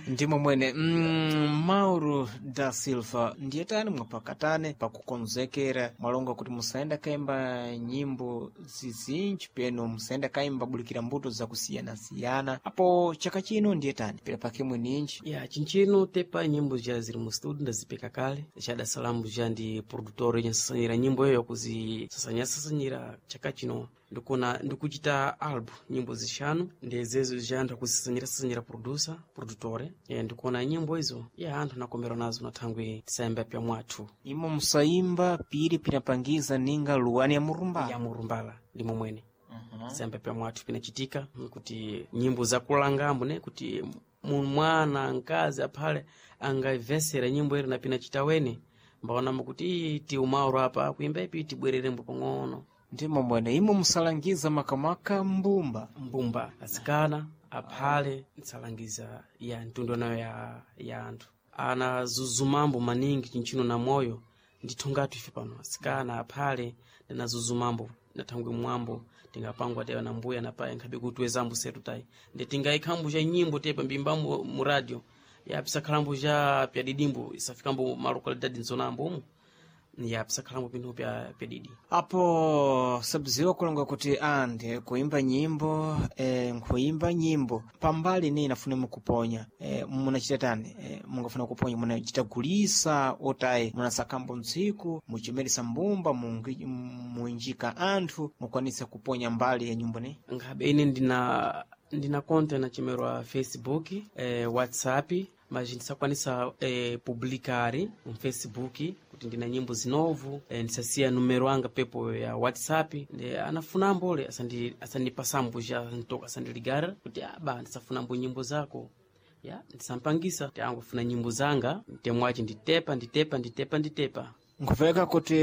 Ndimo mwene. Mauro da Silva, ndiye tani mwapakatane pakukonzekera mwalonga kuti musayenda kaimba nyimbo zizinji peno musayenda kaimba bulikira mbuto zakusiyana-siyana. Apo chaka chino ndiye tani pera pake mweninji? Ya, chinchino tepa nyimbo ja ziri mu studio, ndazipeka kale chada salamu ja ndi produtor yenyasasanyira nyimbo iyo yakuzisasanyasasanyira. Chaka chino ndikuna ndikuchita album nyimbo zishanu, ndezezo ja anthu akuzisasanyirasasanyira producer produtore. Ya, ndikuona nyimbo izo ya anthu anakomerwa nazo na thangwi tisayamba pya mwathu. Imo musayimba piri pinapangiza ninga luwani ya murumbala. Ya murumbala, ndimo mwene. Tisayamba pya mwathu pinachitika kuti nyimbo zakulangambo ne kuti mwana mkazi aphale angayivesera nyimbo iri na pinachita wene mbaonamo kuti ii ti umauro apa kuimba ipi tibwererembo pang'ono. Ndimo mwene, imo musalangiza makamaka mbumba? Mbumba, asikana, aphale nsalangiza ya mtundu nayo ya anthu ana zuzumambo maningi chinchino na moyo ndithu ngati ife pano asikana aphale ndinazuzumambo nathangwe mwambo tingapangwa tewa na mbuya na paye nkhabe kutiwezambo setu tayi ndi tingayikhambo cha nyimbo tepa mbimbambo mu radio ya pisakhalambo cha pyadidimbo isafikambo malokalidadi nzonambo umu ya pisakhalambo pinthu pya pyadidi. Apo sabziwa kulonga kuti andi kuimba nyimbo, nkuimba nyimbo pambali ni inafuna mukuponya, munachita tani? Mungafuna kuponya munachita gulisa otayi munasakambo ntsiku muchimeresa mbumba muinjika anthu mukwanisa kuponya mbali ya nyimbo ne? Nkhabe ine ndina konta inachemerwa Facebook, WhatsApp, mas ndisakwanisa publicari mu Facebook kuti ndina nyimbo zinovu. Ndisasiya numero anga pepo ya WhatsApp, ndi anafunambo le asandipasambo ja ntoka asandiligara kuti aba ndisafunambo nyimbo zako ya ndisampangisa ti angufuna nyimbo zanga ntemwaci nditepa nditepa nditepa nditepa. Nkupeka kuti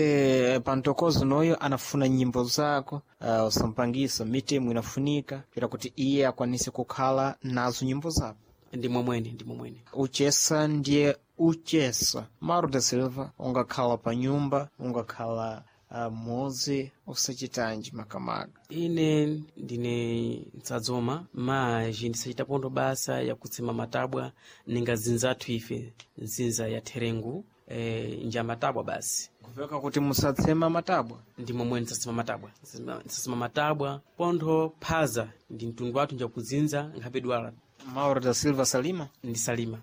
pantokozo noyo anafuna nyimbo zako, usampangisa mitemo inafunika pera kuti iye akwanise kukhala nazo nyimbo zako. Ndimwe mwene, ndimwe mwene. Uchesa ndiye uchesa. Mauro da Silva, ungakhala pa nyumba ungakhala muzi usachitanji makamaka? Ine ndine ntsadzoma maji ndisachita pondo basa yakutsema matabwa ninga zinzathu ife nzinza ya therengu, nja matabwa basi. Kupeka kuti musatsema matabwa? Ndimwe mwene, ndisasema matabwa. Ndisasema matabwa pontho phaza ndi mtundu wathu njakudzinza nkhabe dwala. Mauro da Silva salima? Ndisalima.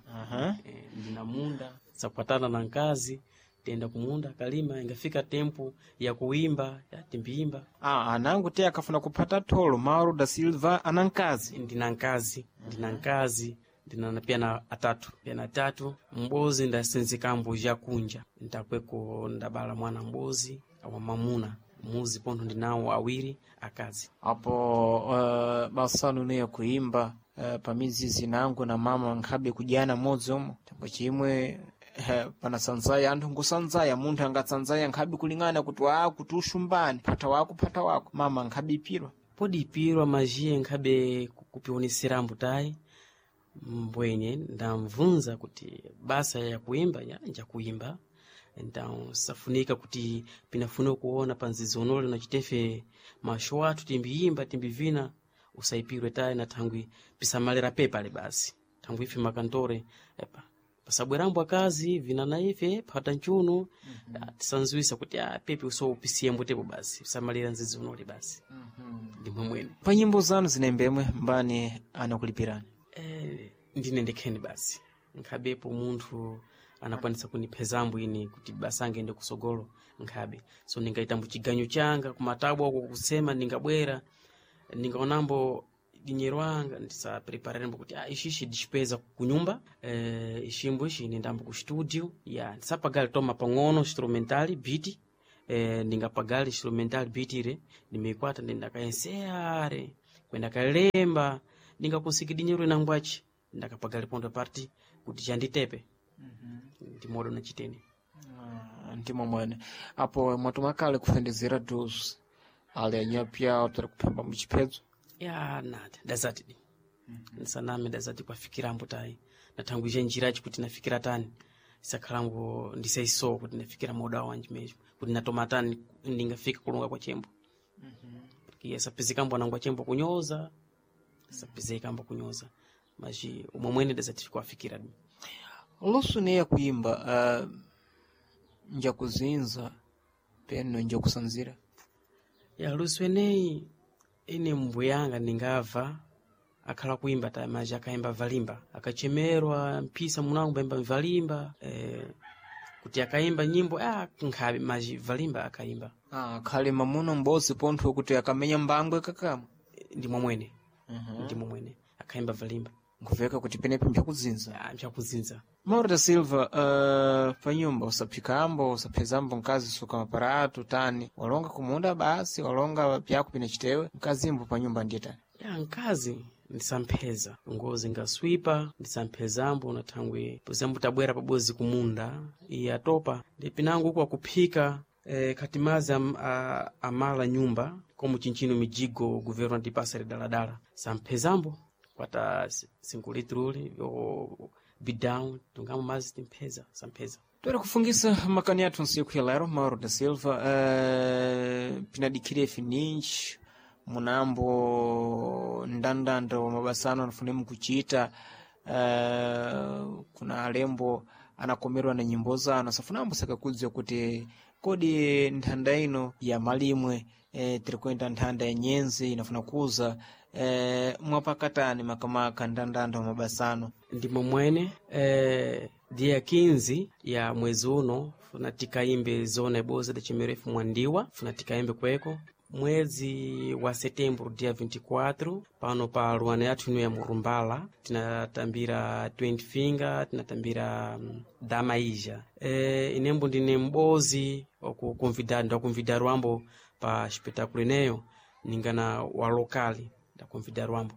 Ndina munda sakwatana na nkazi tenda kumunda kalima ingafika tempo ya kuimba ya timbiimba. Anangu te akafuna kuphata tholo, Mauro da Silva ana nkazi? Ndina nkazi, ndina nkazi, ndina pia na atatu, pia na atatu mbozi ndasenzekambo jakunja ntakweko ndabala mwana mbozi awa mamuna muzi pontho ndinawo awiri akazi. Apo basanu neyo kuimba, pamizizi nangu na mama nkhabe kudyana modzi omwe tambo chimwe, panasanzaya anthu nkusanzaya munthu angatsanzaya nkhabe kulingana kuti wa kuti ushumbani phata wako phata wako mama nkhabe ipirwa. Podipirwa majiye nkhabe kupioneserambo tayi mbwenye ndamvunza kuti basa ya kuimba ya njakuimba então safunika kuti pinafuna kuona panzizonole nachitefe masho athu timbiyimba timbivina usaipirwe tayi na thangwi pisamalira pepale basi thangwi ife makantore epa pasabwerambo akazi vina na ife phata nchuno. Tisanzuwisa kuti pepe usoupisiyembo tepo basi pisamalira nzizonole basi. Ndimwe mwene. Pa nyimbo zanu zinembemwe mbani anakulipirani? Ndine ndekheni basi nkhabepo munthu anakwanisa kuniphezambo ine kuti basa angende kusogolo nkhabe so ndingaitambo chiganyu changa kumatabwa uko kusema ndingabwera ndingaonambo dinyero anga ndisaprepararembo kuti ishishi ndicipeza kunyumba, ishimbo ishi nendambo ku studio ya ndisapagali toma pang'ono instrumental beat, ndingapagali instrumental beat ire ndimeikwata ndendakaenseare kwenda kalemba ndingakonsiki dinyero inangwachi ndakapagali pondo parti kuti chanditepe. Ndimodo nachiteni. Ndimo mwene. Apo mwatumakale kufendezera duzi ali anyapya tari kuphemba muchiphedzo? Ya nati dazati di nsaname dazati kwafikirambo tayi nathangwizha njirachi kuti nafikira tani isakhalango ndisaisowa kuti nafikira moda wanji mesmo kuti natoma tani ndingafika kulunga kwa chembo. Sapizikambo anangwa chembo kunyoza sapizikambo kunyoza. Mas umwe mwene dazati kuafikira. Lusu neya kuimba nja kuzinza peno nja kusanzira. Ya lusu eneyi ine mbuyanga ningava akhala kuimba ta maji akaimba valimba akachemerwa mpisa munango baimba valimba kuti akaimba nyimbo nkhabe maji valimba akaimba. Khale mamuno m'bodzi pontho kuti akamenya mbangwe kakama. Ndi momwene. Ndi momwene akaimba valimba. Nkuveka kuti penepo mpyakuzinza. Mpyakuzinza. Mauro da Silva, panyumba usaphikambo usaphezambo mkazi suka maparato tani walonga kumunda basi walonga pyako pina chitewe mkazimbo panyumba ndiye tani. Ya mkazi ndisampheza ngozi ngaswipa ndisamphezambo na thangwe pozambo tabwera pabozi kumunda iye atopa ndi pinango uku akuphika khati mazi amala nyumba komo chinchino mijigo governo atipasa daladala samphezambo kwata 5 litruli bidão tungamo mazi timpheza sampheza. Toera kufungisa makani athu nsiku ya lero Mauro da Silva, pinadikhire fininji munambo ndandanda wa mabasa anu anafune mukuchita, kuna alembo anakomerwa na nyimbo zanu asafunambo sakakudziwa kuti kodi nthanda ino ya malimwe tiri kuyenda nthanda ya nyenzi inafuna kuza mwapakatani makamaka ndandanda wa mabasa anu. Ndi momwene dia 15 ya mwezi uno funa tikaimbe zona iboza da chimerefu mwandiwa funa tikaimbe kweko mwezi wa setembro dia 24 pano pa luana yathu ino ya Murumbala tinatambira 20 finger tinatambira damaija inembo ndine m'bozi okuconvidar ndakunvidar wambo pa espetáculo ineyo ningana wa lokali ndakunvidar wambo.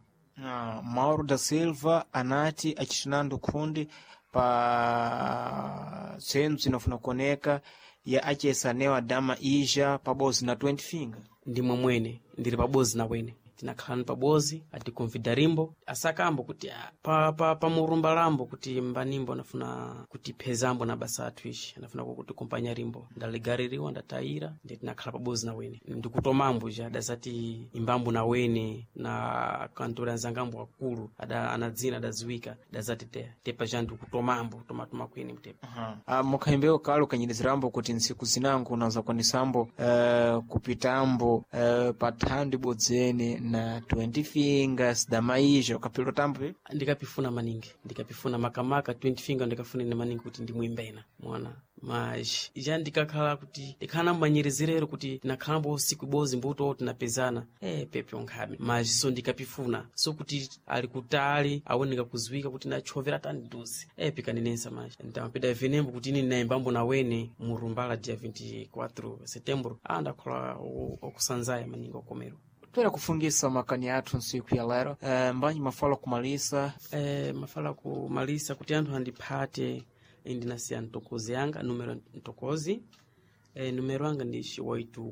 Mauro da Silva anati acitinando khundi pa tsentso inafuna kuoneka ya achesanewa dama ija pabozi na 20 finger. Ndi momwene ndili pabozi na wene tinakhalani pabozi atikonvidarimbo asakambo kuti pa murumba lambo kuti mbanimbo anafuna kutiphezambo na basa athu ishi anafuna kutikumpanya rimbo ndaligaririwa ndatayira ndi tinakhala pabozi na wene ndikutomambo ja adazati imbambo na wene na kantori anzangambo akulu ada anadzina adaziwika adazati tepa ja ndikutomambo tomatoma kwene mtepa. Mukhayimbewo kale ukanyirizrambo kuti ntsiku zinango unaza kwanisambo kupitambo pa thando ibodzene na 20 fingers damaija ukapilwa tambo pe? Ndikapifuna maningi ndikapifuna makamaka 20 finger ndikafuna ine maningi kuti ndimwimbena mwana mas ja ndikakhala kuti ndikhala nambanyirizirero kuti tinakhalambo usiku ibozi mbuto tinapezana pepe onkhabe mas so ndikapifuna so kuti ali kutali aoneka kuziwika kuti nachovera tani duzi pikanenesa mas ndamapeda venembo kuti ine ndinaimbambo na wene murumbala dia 24 setembro ndakhola okusanzaya maningi okomero. Toera kufungisa makani athu ntsiku ya lero, mbanji mafala kumalisa. Mafala kumalisa kuti anthu andiphate ndinasiya ntokozi yanga numero ntokozi numero anga ndi 84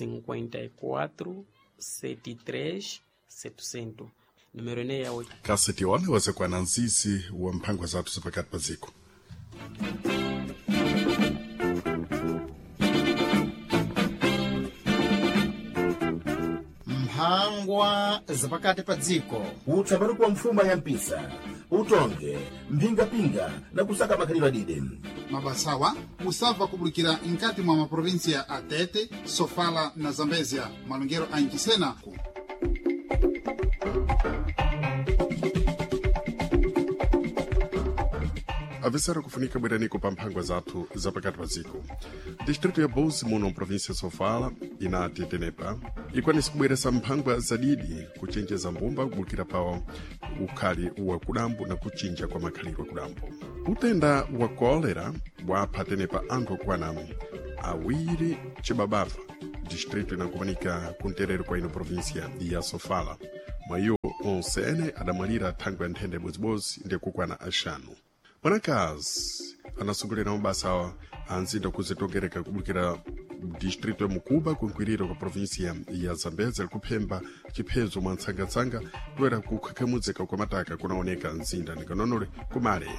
54 73 700 numero ineyi ya Kaseti one wazekwana nzizi wa mphangwa zathu zapakati pa dziko. Mphangwa zapakati pa dziko. Utsapatu kwa mfuma ya mpisa utonge mphingapinga na kusaka makhalidwe adide. Mabasawa musabva kubulikira nkati mwa maprovinsia a Tete, Sofala na Zambezia malongero a Nchisena. Avisara kufunika bweraniko pa mphangwa zathu zapakati pa dziko. Distrito ya Bozi muno mprovinsia Sofala inati tenepa ikwanisa kubweresa mphangwa zadidi kuchenjeza mbumba kubukira pa ukhali wa kudambo na kuchinja kwa makhalidwe kudambo. Utenda wa kolera wapha tenepa anthu okwana awiri chibabava distrito inakumanika kunterero kwa ino provinsia ya Sofala. Mwayiwo onse ene adamwalira thangwe ya nthenda ibodzibozi ndi kukwana axanu. Mwanakazi anasungulira mabasa a nzinda kuzitongereka kubukira distrito ya Mukuba kunkwiriro kwa provinsia ya Zambezi likuphemba chiphezo mwa ntsangatsanga toera kukhakhamudzeka kwa mataka kunaoneka mzinda ninganonole kumale.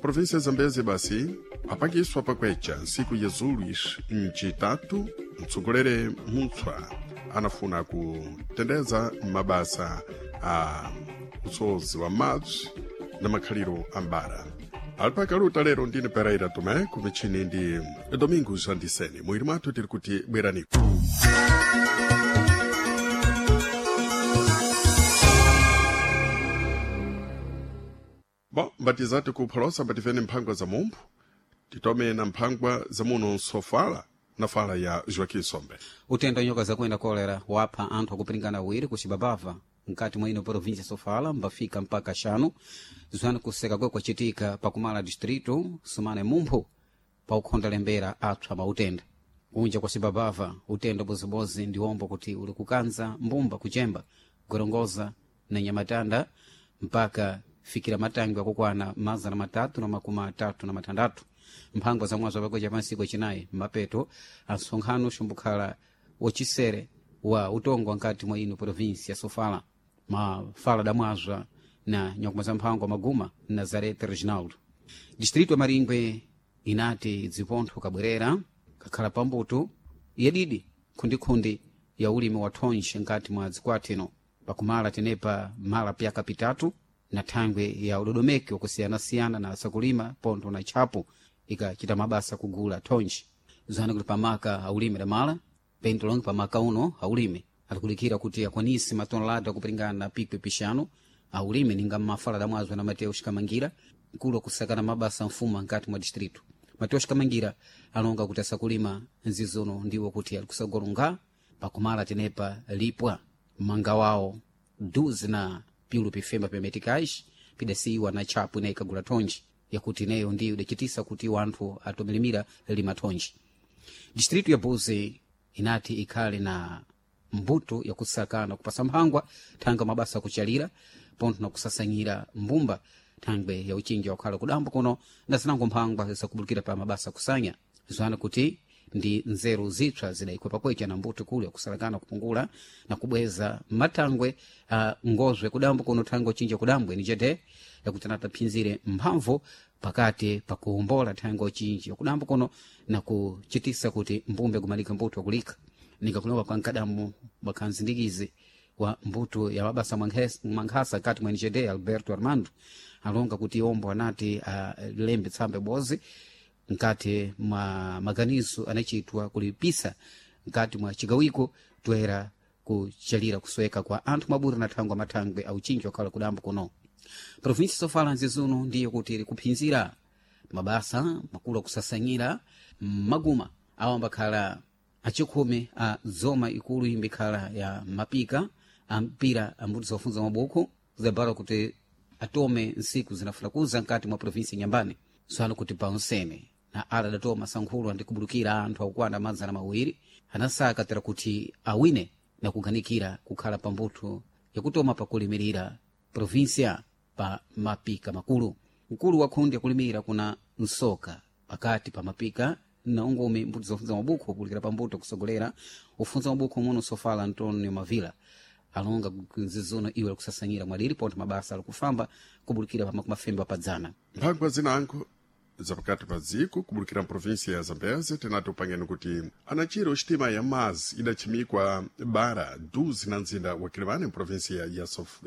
Provinsia ya Zambezi basi apangiswa pakwecha ntsiku ya Zuluis mcitatu mtsogolere mutswa anafuna kutendeza mabasa a usozi wa madzi na makhaliro ambara. Alipakaluta lero ndine Pereira Tomé, kumichini ndi Domingos Andiseni. Mwiri mwathu tiri kuti bweraniko. Bom, mbatizati kupholosa mbativene mphangwa za mumphu, titome na mphangwa za muno nsofala na fala ya Joaquim Sombe. Utenda nyoka zakuenda kolera wapha anthu akupiringana awiri ku Cibabava mkati mwa ino província ya Sofala mbafika mpaka xanu zwana kuseka kwe kwacitika pakumala distrito sumane mumphu paukhonda lembera apsa mautenda kunja kwa Cibabava utenda bozibozi ndi ombo kuti uli kukanza mbumba kuchemba gorongoza na nyamatanda mpaka fikira matangwe akukwana 336 mphangwa za mwazo apakweca pansiku acinayi mapeto ansonkhano xumbukhala wacisere wa utongwa nkati mwa ino província ya Sofala mafala damwazwa na nyakuma za mphangwa maguma Nazareth Reginaldo. Distrito ya Maringwe inati dzipontho kabwerera kakhala pambuto yadidi khundikhundi ya ulimi wa thonje nkati mwa dzikwatino pakumala tenepa mala pyaka pitatu na thangwe ya udodomeki wakusiyanasiyana na asakulima pontho na tchapo ikachita mabasa kugula thonje zana kuti pamaka aulimi damala pento longe pamaka uno aulime alikulikira kuti akwanise matonelada akupiringana na pikwi pixanu aulime ninga mmafala damwazwa na Mateus Kamangira mkulu wakusakana mabasa mfuma nkati mwa distrito. Mateus Kamangira alonga kuti asakulima nzizono ndiwo kuti alikusagolonga pakumala tenepa lipwa manga wawo duzi na piulu pifemba pyametikais pidasiyiwa na tchapo ineyi ikagula thonje yakuti ineyo ndiyo idacitisa kuti wanthu atomilimira lima thonje. Distrito ya Buzi inati ikhale na mbuto yakusakana kupasa mphangwa thanga mabasa akuchalira pontho na kusasanyira mbumba thangwe ya uchinja wakhala kudambo kuno na zinango mphangwa zakubulukira pa mabasa akusanya zwana kuti ndi nzeru zipsa zidayikwa pakwecha na mbuto kulu yakusalakana kupungula na kubweza matangwe ngozwe kudambo kuno thangwe uchinja kudambwe ni chete yakuti anataphinzire mphamvu pakati pakuwombola thangwe uchinji wakudambo kuno na kuchitisa kuti mbumbe kumalika mbuto wakulika ningakulowa kwa nkadamu wakhanzindikizi wa mbuto ya mabasa mwankhasa kati mwa NGD Alberto Armando alonga kuti ombo anati alembe tsambe bozi nkati mwa maganizo anachitwa kulipisa nkati mwa chigawiko toera kuchalira kusweka kwa anthu mabura na thangwe mathangwe auchinji wakhala kudambo kuno. Província Sofala nzizuno ndiyo kuti iri kuphinzira mabasa makulu akusasanyira maguma awo ambakhala achikhumi a dzoma ikulu imbikhala ya mapika ampira ambuti zofunza mabuku zabala kuti atome nsiku zinafuna nkati mwa província Nyambani swalo kuti paonsene na ala adatoma sankhulu andikubulukira anthu akukwana 200 anasaka tera kuti awine na kuganikira kukhala pambuthu yakutoma pakulimirira província pa mapika makulu. Mkulu wa khundi yakulimira kuna nsoka pakati pa mapika na ungumi mbuto zofunza mabuku kupulikira pambuto kusogolera ufunza mabuku muno Sofala Antonio Mavila alonga nzizono iwe alikusasanyira mwadiri pontho mabasa alikufamba kubulikira pamakumi padzana. Mphangwa zinango zapakati pa dziko kubulukira mprovinsia ya Zambeze tinati upangeni kuti anachiro xitima ya mazi idachimikwa bara duzi na mzinda wa Kilimani mprovinsia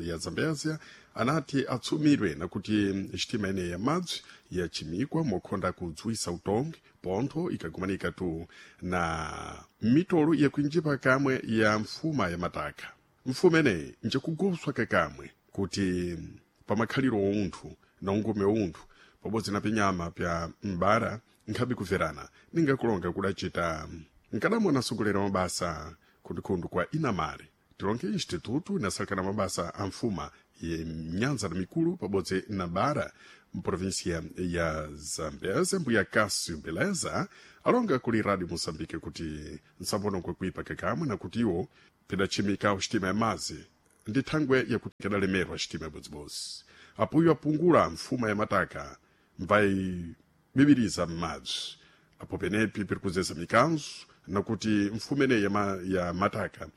ya Zambezia anati atsumirwe nakuti xitima ineyi ya madzi yachimikwa mokhonda kudzwisa utongi pontho ikagumanika tu na mitolo yakuinjipa kamwe ya mfuma ya mataka. Mfuma ineyi njekuguswa kakamwe kuti pamakhaliro ounthu na ungume ounthu pabodzi na pinyama pya m'bara nkhabe kuverana ningakulonga kudacita nkadamwe anasogolera mabasa khundukhundu kwa inamare tilonge institutu inasalekana mabasa a mfuma ye nyanza na mikulu pabodzi na bara mprovinsia ya Zambeze mbuya Cássio Beleza alonga kuli Radio Moçambique kuti nsambono kwakuipa kakamwe na kuti iwo pidachimika xitima ya mazi ndi thangwe yakuti kadalemerwa xitima yabodzibozi apuyo apungula mfuma ya mataka mvaibibiriza m'madzi apo penepi piri kuzeza mikanzo nakuti mfuma ineyi ya mataka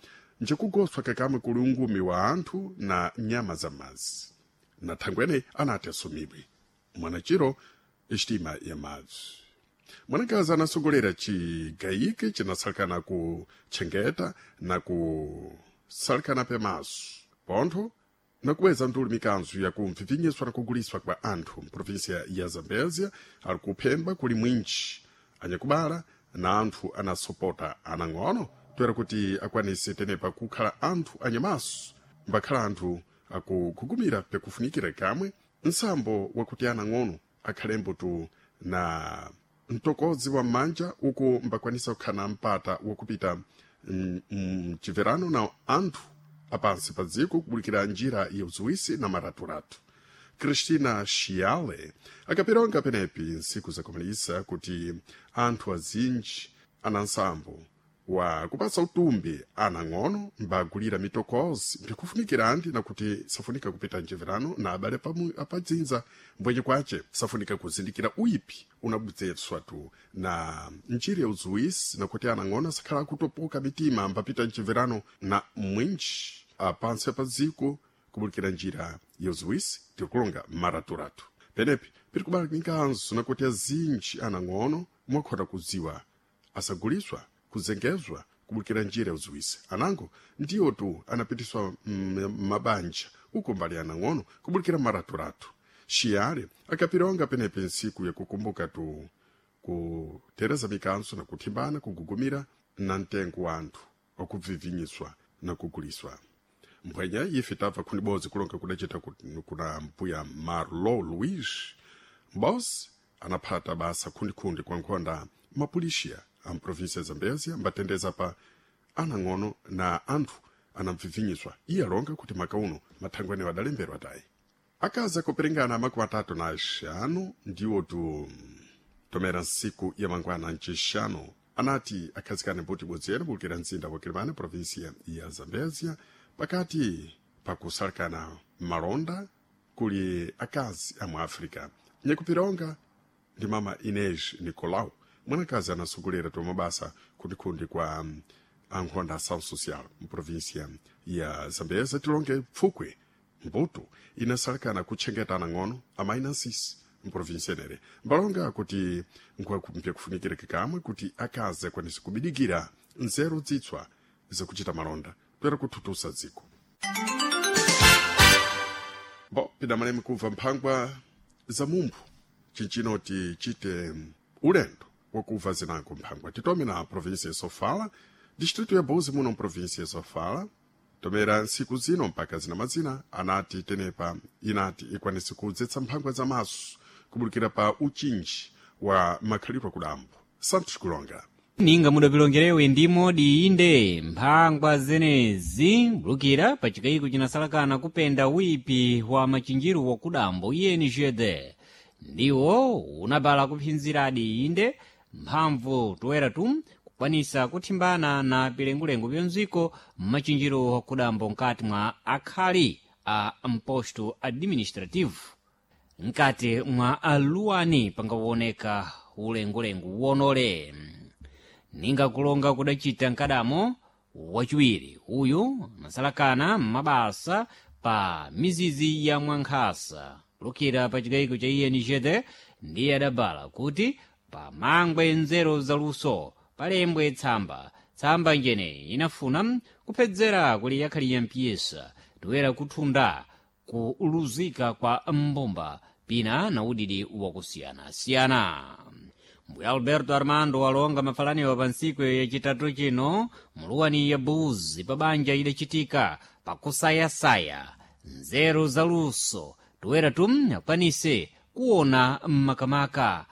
njekugoswa kakamwe kuli ungumi wa anthu na nyama za madzi na thangwe ineyi anati asumibwe mwanachiro xitima ya madzi. Mwanakazi anasogolera chigayike chinasalekana ku tchengeta na kusalekana pemaso pontho Nakubweza ntuli mikanzu yakumvivinyiswa na kuguliswa kwa anthu mprovinsia ya Zambezia ali kuphemba kuli mwinji anyakubala na anthu anasopota anang'ono toera kuti akwanise tenepa kukhala anthu anyamaso mbakhala anthu akugugumira pekufunikira kamwe nsambo wakuti anang'ono akhalembo tu na mtokozi wa m'manja uku mbakwanisa kukhala na mpata wakupita mchiverano na anthu apansi pa dziko kubulikira njira ya uziwisi na maraturatu. Cristina Chiale akaperonga penepi nsiku zakomalisa kuti anthu azinji ana nsambo wa kupasa utumbi anang'ono mbagulira mitokozi mbikufunikira andi nakuti safunika kupita mchiverano na abale apadzinza mbwenye kwace safunika kuzindikira uipi unabudzetswa tu na njira ya uzuwisi nakuti anang'ono asakhala akutopoka mitima mbapita mchiverano na mwinji apansi apadziko kubulikira njira ya uziwisi tirikulonga maraturatu. Penepi piri kubala mikanzo nakuti azinji anang'ono mwakhota kudziwa asaguliswa kuzengezwa kubulikira njira ya uziwisi anango ndiyo tu anapitiswa mabanja uko mbali anang'ono kubulikira maraturatu. Xiyale akapironga penepi nsiku yakukumbuka tu kutereza mikanzo na kuthimbana kugugumira na mtengo wa anthu wakuvivinyiswa na kuguliswa. Mphwenya ife tabva khunibodzi kulonga kudacita kuna mbuya Marlo Luis Mbos anaphata basa khundikhundi kwa nkhonda mapulixiya a mprovinsia ya Zambezia mbatendeza pa anang'ono na anthu anamvivinyiswa. Iye alonga kuti maka uno mathangwani adalemberwa tayi. Akazi akuperingana 35 ndiwo tu tomera nsiku ya mangwana ncixanu anati akhazikane mbuti ibodzi yene kuwukira mzinda wa Quelimane provinsia ya Zambezia pakati pakusalekana malonda kuli akazi amu África. Nyakupironga ndi mama Inês Nicolau, mwanakazi anasogolera tomabasa kundikhundi kwa ankhonda ação social mprovinsia ya Zambezia. Tilonge pfukwe mbuto inasalekana kutchengetana ng'ono amayi na nsisi mprovinsia enere mbalonga kuti nkuwakumpya kufunikira kikamwe kuti akazi akwanise kubidikira nzeru zitswa zakuchita malonda toera kuthutusa dziko. Bo pidamalemi kubva mphangwa za mumphu cincino tichite ulendo wakubva zinango mphangwa. Titome na provinsia ya Sofala, distrito ya Buzi muno mprovinsia ya Sofala. Tomera nsiku zino mpaka zina mazina anati tenepa inati ikwanise kudzetsa mphangwa za maso kubulikira pa uchinji wa makhalidwe kudambo. Santos Kulonga. Ninga mudapilongerewe ndimo diinde mphangwa zenezi bulukira pa chikayiko chinasalakana kupenda wipi wa machinjiru wakudambo INGD ndiwo unabala kuphinziradi inde mphamvu toera tu kukwanisa kuthimbana na pilengulengu pyonziko mmachinjiro wakudambo nkati mwa akhali a mposto administrativo nkati mwa aluwani pangaoneka ulengulengu wonole. Ninga kulonga kudacita nkadamo wachiwiri uyu anasalakana m'mabasa pa mizizi ya mwankhasa kulukira pa chikayiko cha INGD ndiye adabala kuti pamangwe nzeru zaluso palembwe tsamba tsamba njene inafuna kuphedzera kuli yakhali ya mpiyesa toera kuthunda kuluzika kwa mbumba pina na udidi wakusiyanasiyana. Mbuya Alberto Armando walonga mafalaniwa pa ntsiku yacitatu chino muluwani ya Buzi pa banja idacitika pakusayasaya nzeru zaluso toera tum akwanise kuona mmakamaka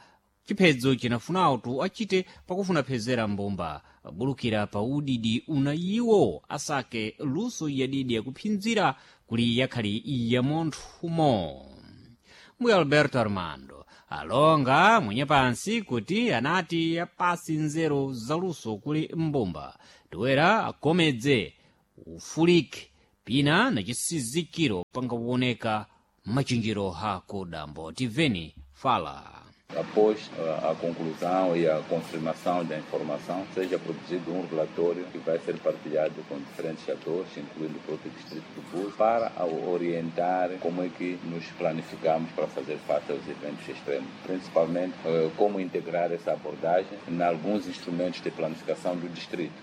chiphedzo chinafunawo tu achite pakufuna phezera mbumba bulukira pa udidi una iwo asake luso yadidi yakuphinzira kuli yakhali ya monthumo. Mbuya Alberto Armando alonga mwenye pansi kuti anati apasi nzeru zaluso kuli mbumba toera akomedze ufulike pina na chisizikiro pangaoneka machinjiro hako dambo. Tiveni fala. Após a conclusão e a confirmação da informação, seja produzido um relatório que vai ser partilhado com diferentes atores, incluindo o próprio Distrito do Búzios, para orientar como é que nos planificamos para fazer face aos eventos extremos. Principalmente, como integrar essa abordagem em alguns instrumentos de planificação do distrito.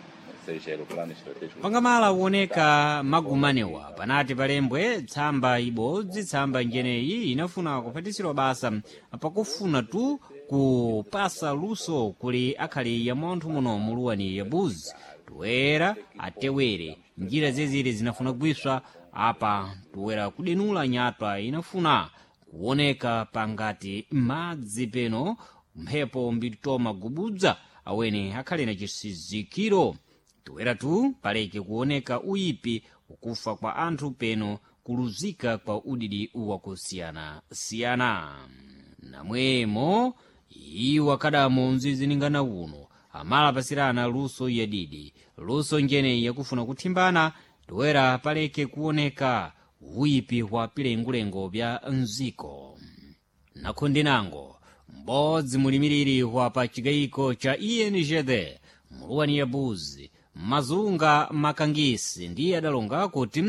seja ele o plano estratégico. Pangamala uoneka magumanewa panati palembwe tsamba ibodzi tsamba njeneyi inafuna kuphatisirwa basa pakufuna tu kupasa luso kuli akhali ya munthu muno muluwani ya buzi toera atewere njira zezire zinafuna kugwiswa apa toera kudenula nyatwa inafuna kuoneka pangati madzi peno mphepo mbitoma gubudza awene akhale na chisizikiro toera tu paleke kuoneka uyipi ukufa kwa anthu peno kuluzika kwa udidi wakusiyanasiyana namwemo iwo akadamo mziziningana uno amalapasirana luso yadidi luso njeneyi yakufuna kuthimbana toera paleke kuoneka uyipi wa pilengulengo bya mziko nakhundinango m'bodzi mulimiriri wa pa chigayiko cha ingd muluwani ya buzi mazunga makangisi ndiye adalonga kuti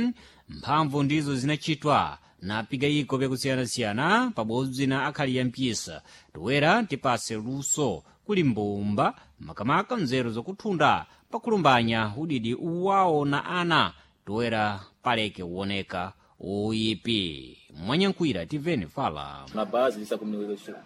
mphamvu ndizo zinachitwa na pigayiko byakusiyanasiyana pabodzi na akhali ya mpisa toera tipase luso kuli mbumba makamaka nzeru zakuthunda pakulumbanya udidi uwawo na ana toera paleke kuoneka uyipi mwanyankhwira tiveni fala. Na base dessa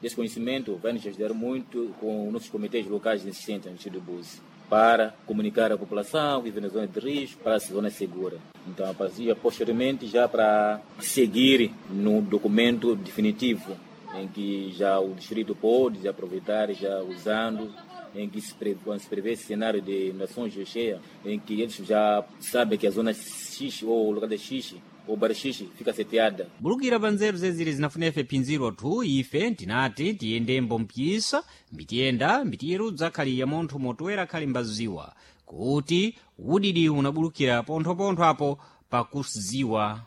desse conhecimento, vai nos ajudar muito com os nossos comitês locais existentes no Distrito de Buzi, para comunicar à população que vive na zona de risco para a zona segura. Então, a partir, posteriormente, já para seguir no documento definitivo, em que já o distrito pode aproveitar, já usando, em que se prevê, quando se prevê esse cenário de inundações de cheia, em que eles já sabem que a zona X ou o lugar de X ou bairro X fica seteada. Bulukira pa nzeru zeziri zinafuna ife phinziro thu ife tinati tiyendembo mpyisa mbitiyenda mbitiyerudza akhali ya munthu motoera akhali mbaziwa kuti udidi unabulukira ponthopontho apo pakuziwa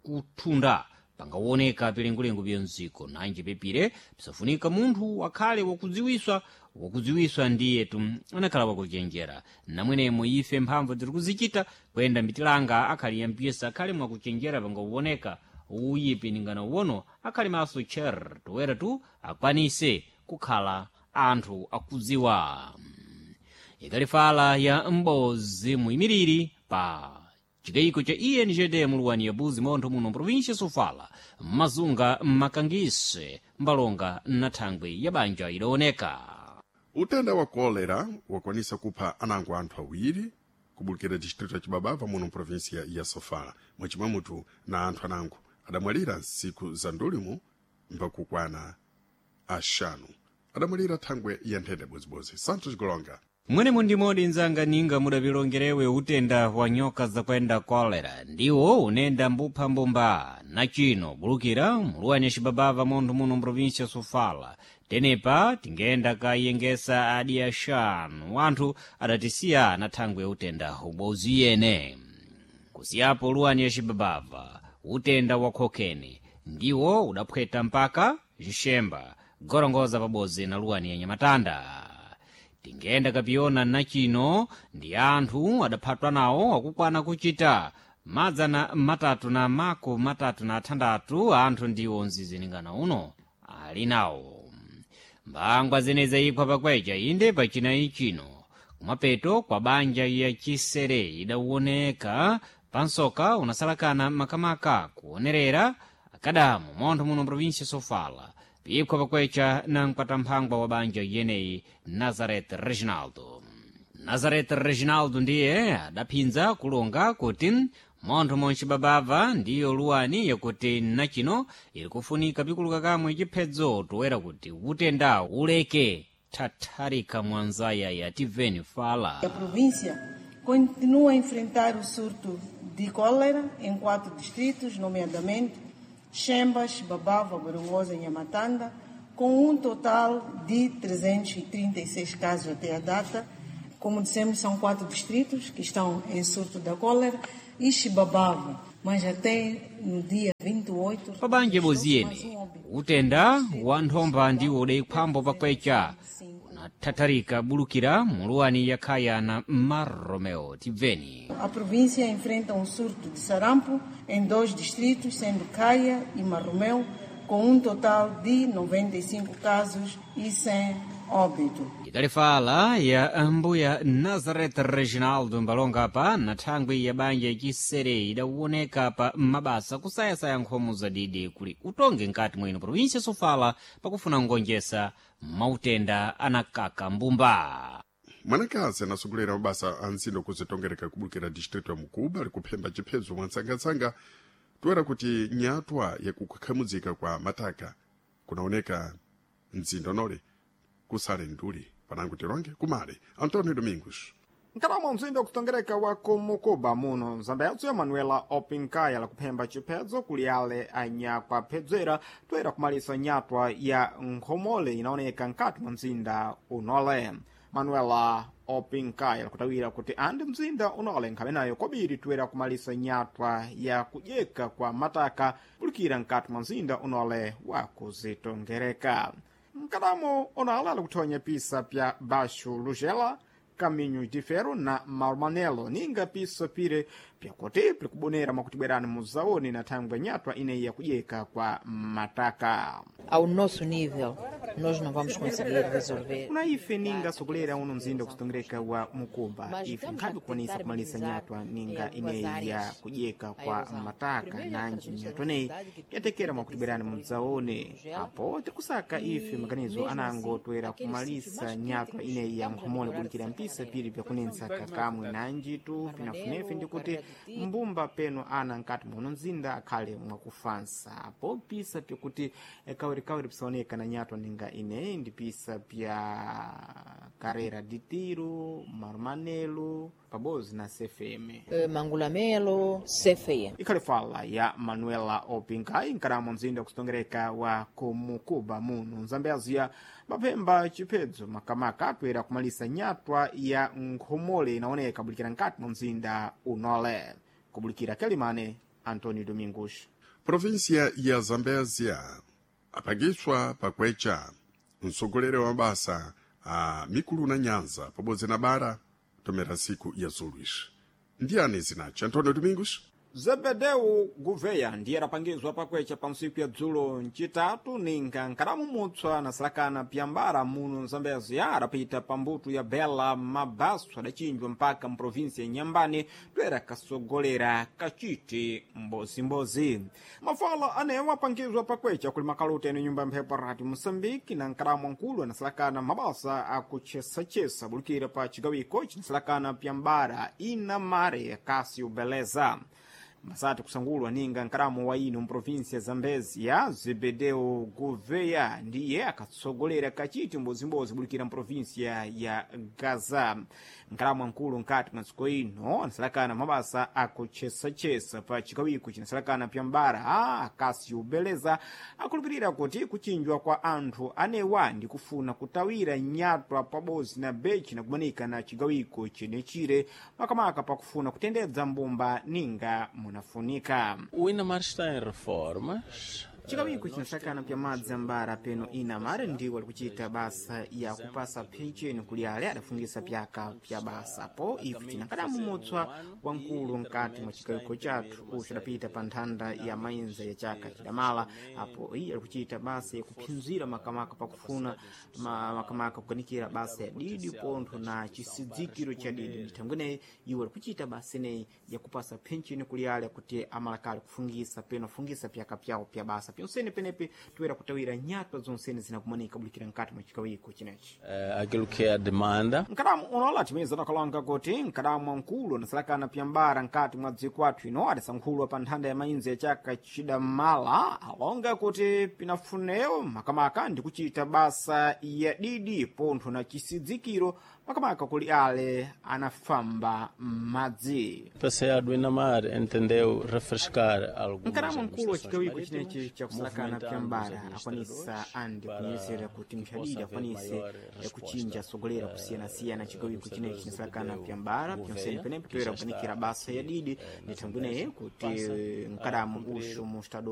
kuthunda pangaoneka pilengulengu bya mziko nanji pepire pisafunika munthu akhale wakudziwiswa wakudziwiswa ndiyetu anakhala wakuchenjera namwenemo ife mphamvu tiri kuzichita kuyenda mbitilanga akhali ya mpisa akhale mwakuchenjera pangauoneka uyipi ningana uwono akhali maso cher toera tu akwanise kukhala anthu akudziwa. Ikalifala ya m'bodzi muyimiriri pa chigayiko cha ingd muluwani ya buzi montho muno província sofala mazunga makangise mbalonga na thangwi ya banja idaoneka. Utenda wa kolera wakwanisa kupha anango anthu awiri kubulukira distrito ya Chibabava muno província ya Sofala, mwachimwemutu na anthu anango adamwalira nsiku za ndulimu mpakukwana axanu adamwalira thangwe ya nthenda bozibodzi. Santos Golonga. Mwenemo ndimodi nzanga ninga mudapilongerewe utenda wa nyoka zakwenda kolera ndiwo unenda mbupha mbumba na chino bulukira muluwani ya Cibabava montho muno mprovinsia Sofala. Tenepa tingenda kayengesa adi axanu anthu adatisiya na thangwe ya utenda ubodzi yene. Kusiyapo luwani ya Cibabava utenda wa khokeni ndiwo udaphweta mpaka Xixemba gorongoza pabodzi na luwani ya Nyamatanda. Tingenda kapiyona nachino ndi anthu adaphatwa nawo akukwana kuchita 336 anthu ndiwo mziziningana uno ali nawo. Mbangwa zeneza iphwa pakwecha inde pachinayi chino kumapeto kwa banja ya chisere idawoneka pansoka unasalakana makamaka kuonerera akadamu montho muno província Sofala piphwa pakwecha na mkwatamphangwa wa banja yeneyi Nazareth Reginaldo. Nazareth Reginaldo ndiye adaphinza kulonga kuti montho monchibabava ndiyo luwani yakuti nachino ili kufunika pikuluka kamwe chiphedzo toera kuti utenda uleke thatharika mwanzaya ya tiveni fala. A província continua a enfrentar o surto de cólera em 4 distritos, nomeadamente Chembas, Babava, Gorongosa e Nhamatanda, com um total de 336 casos até a data. Como dissemos, são 4 distritos que estão em surto da cólera e Chibabava, mas até no dia 28... Pabanja boziyene, utenda wa nthomba ndiwo udaikhwambo pakwecha unathatharika bulukira muluwani yakhaya na Marromeo. Tibveni. A província enfrenta um surto de sarampo em 2 distritos, sendo Caia e Marromeu, com um total de 95 casos e 100 óbito. Ikalifala ya mbuya Nazareth Reginaldo mbalonga pa na thangwi ya banja yacisere idawoneka pa mabasa kusayasaya nkhomo zadidi kuli utonge nkati mwino provinsia Sofala pakufuna ngonjesa mautenda anakaka mbumba. Mwanakazi anasogolera mabasa a ntsindo kuzitongereka kubulukira distrito ya Mukuba likuphemba chiphezo mwantsangatsanga toera kuti nyatwa yakukhamudzika kwa mataka kunaoneka mdzindo nole kusale nduli panango tironge kumale Antonio Domingos. Nkalamo mzinda wakutongereka wa kumukuba muno mzambetso Manuela Opinkaya lakuphemba chiphedzo kuli ale anyakuaphedzera toera kumalisa nyatwa ya nkhomole inaoneka nkati mwa mzinda unole. Manuela Opinkaya lakutawira kuti andi mzinda unole nkhamenayo kobiri toera kumalisa nyatwa ya kudyeka kwa mataka kulikira nkati mwa mzinda unole wa kuzitongereka. Mkadamo onala lakuthonya pisa pya Baixo Lugela, Caminho de Ferro na Marmanelo ninga piso pire pyakuti pilikubonera mwakutibwerani muzaoni na thangwe nyatwa ineyi yakudyeka kwa mataka. Ao nosso nível, nós não vamos conseguir resolver. Kuna ife ninga sokolera uno mzinda kusitongereka wa Mukuba, ife nkhabe kukwanisa kumalisa nyatwa ninga ineyi ya kudyeka kwa mataka nanji nyatwa ineyi yatekera mwakutibwerani mudzaone. Apo tirikusaka ife maganizo anango toera kumalisa nyatwa ineyi ya nkhomole kulikira mpisa piri pyakunensa kakamwe nanjitu pinafunefe ndikuti mbumba peno ana nkati muno mzinda akhale mwakufansa. Apo pisa pyakuti kawirikawiri pisaoneka na nyatwa ninga ineyi ndi pisa pya Carreira de Tiro, Marmanelo pabodzi na CFM. Mangulamelo, CFM. Ikhali fala ya Manuela Opinkai nkalamo mzinda kusitongereka wa kumukuba muno Mzambezia mapemba chiphedzo makamaka atoera kumalisa nyatwa ya nkhomole inaoneka bulikira nkati mwa mzinda unole. Kubulikira Kelimane, Antonio Domingos. Província ya Zambésia apangiswa pakwecha mtsogoleri wa mabasa a mikulu na nyanza pabodzi na bara tomera siku ya zuluishi ndiyani zinachi Antonio Domingos. Zebedeu Gouveia ndiye adapangizwa pakwecha pa ntsiku ya dzulo ncitatu ninga nkalamumutswa na salakana pyambara muno Mzambezia adapita pa mbuto ya Bela Mabaso adachinjwa mpaka mprovinsia ya Nyambane toera kasogolera kaciti mbozimbozi. Mafala anewo apangizwa pakwecha kuli makaluta eno nyumba ya mphepo Radio Moçambique na nkalamu ankulu anasalakana mabasa akuchesachesa bulikira pa cigawiko cinasalakana pyambara inamare Cássio Beleza. Masati kusangulwa ninga nkalamu wa ino mprovinsia ya Zambezia Zebedeu Gouveia ndiye akatsogolera kachiti mbozimbozi bulikira mprovinsia ya Gaza. Nkalamu ankulu nkati mwa ntsiko ino anasalakana mabasa akuchesachesa pa chikawiko chinasalakana pyambara Akasio Beleza akulupirira kuti kuchinjwa kwa anthu anewa ndi kufuna kutawira nyatwa pabodzi na bechi nakumanika na chigawiko chenechire makamaka pakufuna kutendedza mbumba ninga munafunika. O Inamar está em reformas. Chikawiko chinasakana pya madzi ambara peno inamare ndiwo alikuchita basa ya kupasa pensheni kuli ale adafungisa pyaka pya basa po ife chinakadamumutswa wamkulu nkati mwa chikawiko chathu ucho adapita pa nthanda ya mainza ya chaka chidamala. Apo iye alikuchita basa yakuphinzira makamaka pakufuna makamaka kukanikira basa ya didi pontho na chisidzikiro cha didi ndithangweneyi iwo alikuchita basa ineyi yakupasa pensheni kuli ale kuti amalakale kufungisa peno afungisa pyaka pyawo pya basa pyonsene penepe toera kutawira nyatwa zonsene zinakumanika bulikira nkati mwa chikawiko chinechi. Aquilo que é a demanda. Nkadamu unola timeza takalonga kuti nkadamu wankulu anasalakana pyambara nkati mwa dziko athu ino adasankhulwa pa nthanda ya mainzi ya chaka chidamala alonga kuti pinafunewo makamaka ndi kuchita basa ya didi pontho na chisidzikiro makamaka kuli ale anafamba m'madzi. PCA do Inamar entendeu refrescar algumas Nkadamu mkulu wa chigawiko administrações chinechi chakusalakana movimentando os pyambara akwanisa administradores andi para kunyezera kuti que mchadidi possa haver akwanise maior kuchinja sogolera kusiyanasiyana chigawiko chinechi chinasalakana pyambara pyonsene Gouveia, penepo que toera já kukanikira está basa ya didi na ndithangweneyi Zambésia, kuti passa a nkadamu cumprir uxu mu estado